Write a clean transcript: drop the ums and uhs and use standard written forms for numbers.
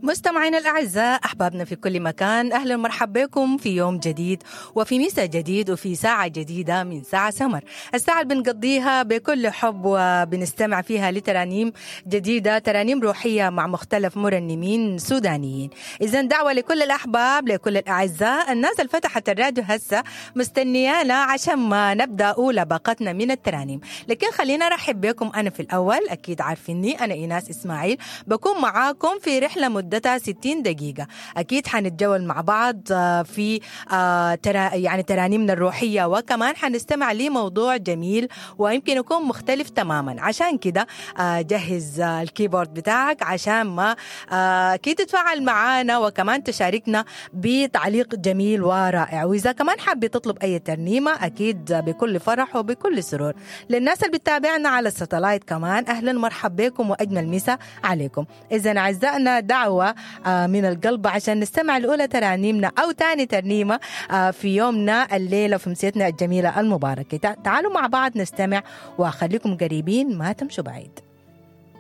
مستمعينا الأعزاء، أحبابنا في كل مكان، أهلا ومرحبا بكم في يوم جديد وفي مساء جديد وفي ساعة جديدة من ساعة سمر، الساعة اللي بنقضيها بكل حب وبنستمع فيها لترانيم جديدة، ترانيم روحية مع مختلف مرنمين سودانيين. إذا دعوة لكل الأحباب، لكل الأعزاء، الناس اللي فتحت الراديو هسه مستنيانا عشان ما نبدأ أولى باقتنا من الترانيم. لكن خلينا أرحب بكم أنا في الأول، أكيد عارفيني أنا إيناس إسماعيل، بكون معاكم في رحلة مدتها 60 دقيقة. أكيد حنتجول مع بعض في يعني ترانيمنا الروحية، وكمان حنستمع لموضوع جميل ويمكن يكون مختلف تماما. عشان كده جهز ال keyboard بتاعك عشان ما أكيد تتفاعل معانا وكمان تشاركنا بتعليق جميل ورائع. وإذا كمان حابة تطلب أي ترنيمة أكيد بكل فرح وبكل سرور. للناس اللي بتتابعنا على ال satellite كمان أهلا ومرحبا بكم وأجمل مساء عليكم. إذا أعزائنا دعوة من القلب عشان نستمع لأولى ترانيمنا أو تاني ترنيمة في يومنا الليلة في مسيتنا الجميلة المباركة. تعالوا مع بعض نستمع وخليكم قريبين ما تمشوا بعيد.